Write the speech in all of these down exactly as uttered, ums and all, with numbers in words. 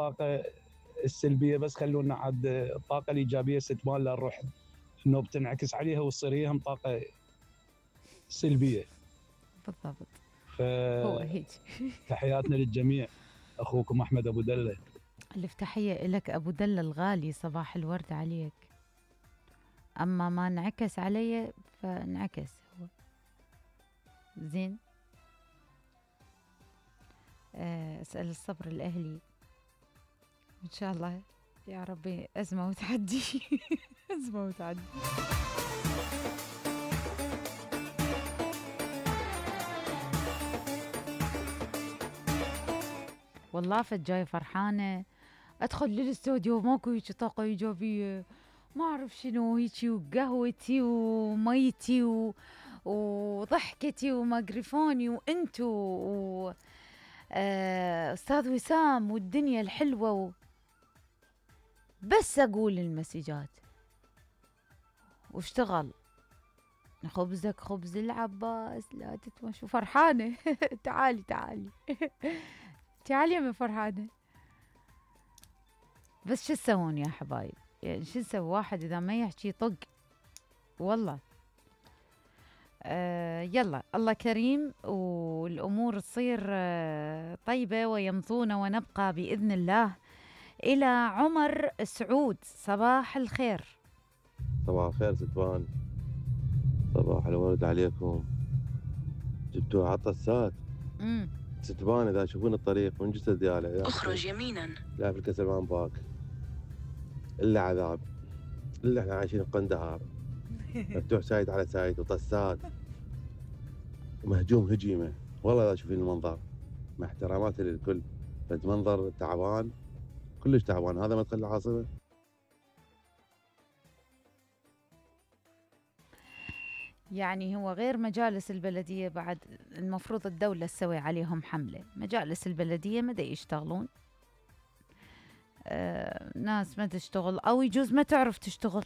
الطاقة السلبية، بس خلونا عاد الطاقة الإيجابية ستبان للروح إنه بتنعكس عليها وتصير هي هم طاقة سلبية. بالضبط. ف... هو هيك. تحياتنا للجميع. أخوكم أحمد أبو دلة. ألف تحية لك أبو دلة الغالي، صباح الورد عليك. أما ما انعكس علي فانعكس هو زين. أسأل الصبر الأهلي إن شاء الله يا ربي. أزمة وتعدي. أزمة وتعدي. والله فجاي فرحانة أدخل للاستوديو ماكو هيك طاقة إيجابية، ما أعرف شنو هيجي، وقهوتي وميتي و... وضحكتي وميكروفوني وأنتو و... آه... أستاذ وسام والدنيا الحلوة و... بس أقول المسجات واشتغل. خبزك خبز العباس لا تتمشوا. فرحانة. تعالي تعالي. تعالي يا فرحانة. بس شو تسوون يا حبايب؟ يعني شو نسوي؟ واحد إذا ما يحكي طق والله. آه يلا الله كريم والأمور تصير آه طيبة ويمضون ونبقى بإذن الله. إلى عمر سعود، صباح الخير. صباح الخير ستوان، صباح الورد عليكم. جبتوا عطسات ستوان إذا تشوفون الطريق من جسد دياله اخرج يمينا لا في الكسلمان باك إلا عذاب، إلا إحنا عايشين قندهار. مفتوح سايد على سايد وطسات مهجوم هجيمة. والله إذا تشوفين المنظر، مع احتراماتي للكل، بس منظر تعبان كلش تعبان. هذا مدخل العاصمة. يعني هو غير مجالس البلدية بعد المفروض الدولة تسوي عليهم حملة. مجالس البلدية ما دا يشتغلون، آه ناس ما تشتغل أو يجوز ما تعرف تشتغل.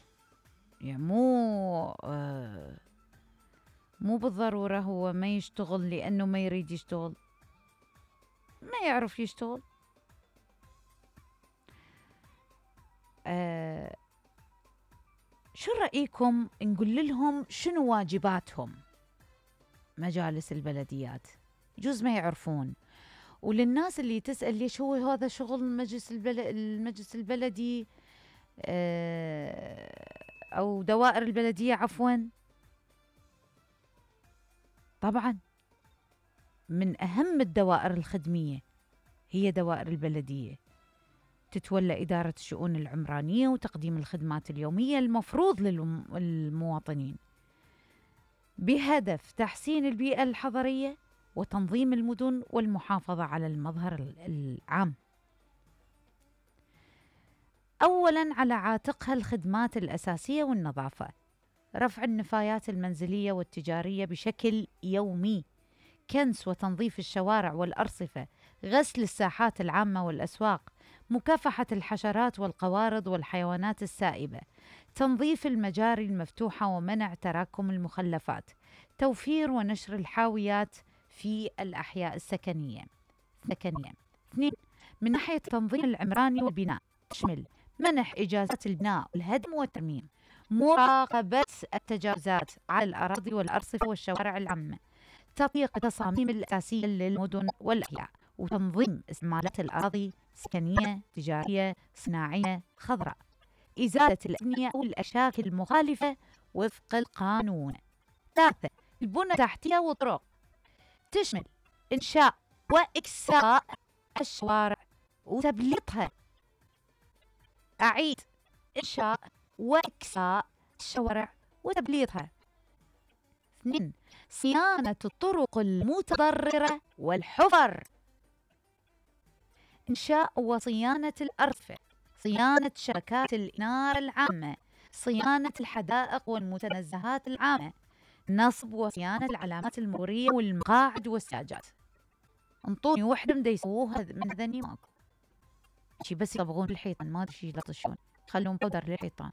يعني مو آه مو بالضرورة هو ما يشتغل لأنه ما يريد يشتغل، ما يعرف يشتغل. آه شو رأيكم نقول لهم شنو واجباتهم مجالس البلديات؟ يجوز ما يعرفون. وللناس اللي تسأل ليش هو هذا شغل المجلس البلد المجلس البلدي أو دوائر البلدية عفوا، طبعا من أهم الدوائر الخدمية هي دوائر البلدية، تتولى إدارة الشؤون العمرانية وتقديم الخدمات اليومية المفروض للمواطنين بهدف تحسين البيئة الحضرية وتنظيم المدن والمحافظة على المظهر العام. أولاً على عاتقها الخدمات الأساسية والنظافة، رفع النفايات المنزلية والتجارية بشكل يومي، كنس وتنظيف الشوارع والأرصفة، غسل الساحات العامة والأسواق، مكافحة الحشرات والقوارض والحيوانات السائبة، تنظيف المجاري المفتوحة ومنع تراكم المخلفات، توفير ونشر الحاويات في الأحياء السكنية. ثانيا، اثنين، من ناحية التنظيم العمراني والبناء تشمل منح إجازات البناء والهدم والترميم، مراقبة التجاوزات على الأراضي والأرصفة والشوارع العامة، تطبيق التصاميم الأساسية للمدن والأحياء، وتنظيم استعمالات الأراضي سكنية، تجارية، صناعية، خضراء، إزالة الأبنية أو الأشكال المخالفة وفق القانون. ثالثة، البنى التحتية والطرق تشمل إنشاء وإكساء الشوارع وتبليطها. أعيد، إنشاء وإكساء الشوارع وتبليطها. اثنين، صيانة الطرق المتضررة والحفر، إنشاء وصيانة الأرصفة، صيانة شبكات الإنارة العامة، صيانة الحدائق والمتنزهات العامة، نصب وصيانة العلامات المرورية والمقاعد والسياجات. انطوني وحدة من يسووها من ذني ماكو شي، بس يصبغون الحيطان، ما ادري شي يلطشون، خلون بودر للحيطان.